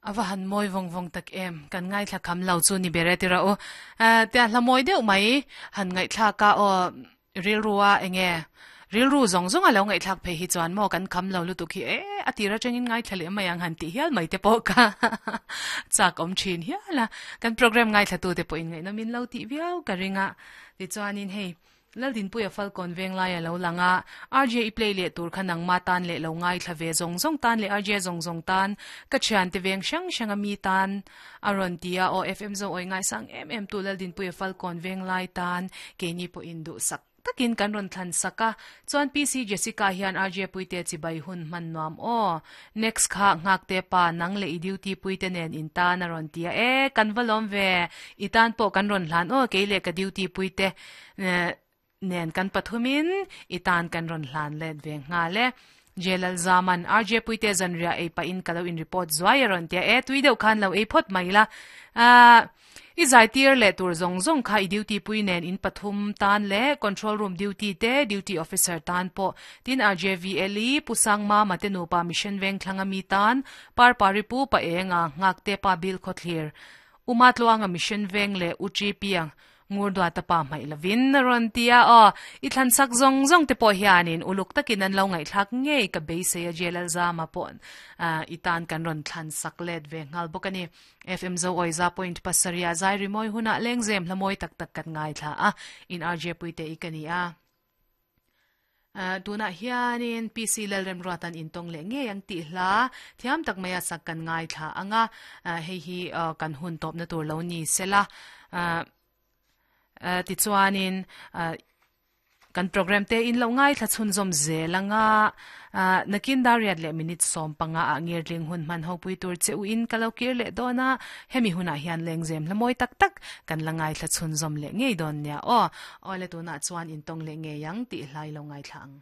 A va han mawi vawng vawng tak em, kan ngaithla kham lo chu ni ber e tira u. Tia hla mawi deuh mai han ngaihthlak a aw rilru a enge rilru zawng zawng a lo ngaihthlak phei hi chuan maw kan kham lo lutuk hi e a tir atangin ngaithla leh mai ang han tih hial mai te pawh kha chak awm thin hial a. Kan program ngaithla tu te pawh in ngaihnawm in lo tih viau ka ring a. Tichuanin hei Laldinpuia Falkawn Venglai a lo lang a, RJ i play leh tur kha nangma tan leh lo ngaithla ve zawng zawng tan leh RJ zawng zawng tan, ka thiante veng hrang hranga mi tan a rawn ti a, aw FM zo awi ngaisang em em tu Laldinpuia Falkawn Venglai tan keini pawhin duhsak takin kan rawn thlan sak a, chuan PC Jessica hian RJ Puite chibai hun hman nuam aw. Next kha Nghakte pa nang leh i duty puite nen in tan a rawn ti a, e kan va lawm ve, i tan pawh kan rawn hlan aw kei leh ka duty puite nen kan pathumin i tan kan rawn hlan let ve nghal e. Jelal Zaman, RJ Puite zanriah ei pahin ka lo in report zuai a rawn ti a, e tui deuh khan lo ei phawt mai la. Ahh i zaitir leh tur zawng zawng kha i duty pui nen in pathum tan leh control room duty te duty officer tan pawh tin RJVL-i Pu Sangmama te nupa Mission Vengthlanga mi tan Parpari Pu Pa Enga Nghakte Pa Bil Khawthlir Uma Tluanga Mission Veng leh U Chi Piang Ngur duata pa hmaih lovin a rawn ti a, aw, i thlansak zawng zawng te pawh hianin uluk takin an lo ngaihthlak ngei ka beisei a Jelalzama pawh i tan kan rawn thlansak let ve nghal bawk a ni. FM Zo Awiza point pasarih ah zai rimawi hunah lengzem hla mawi tak tak kan ngaithla a, in RJ Puite i ka ni a. Tunah hianin PC Lalremruatan intawng leh ngei ang tih hla thiam tak maia sak kan ngaithla ang a, hei hi kan hun tawpna tur lo ni sela. Tichuanin kan program te in lo ngaithla chhunzawm zel ang a, nakin dariat leh minute 15 ah ngirtling hun hman ho pui tur che u in ka lo kir leh dawn a, hemi hunah hian lengzem hla mawi tak tak kan la ngaithla chhunzawm leh ngei dawn nia aw. Awle tunah chuan intawng leh ngei ang tih hlai lo ngaithla ang.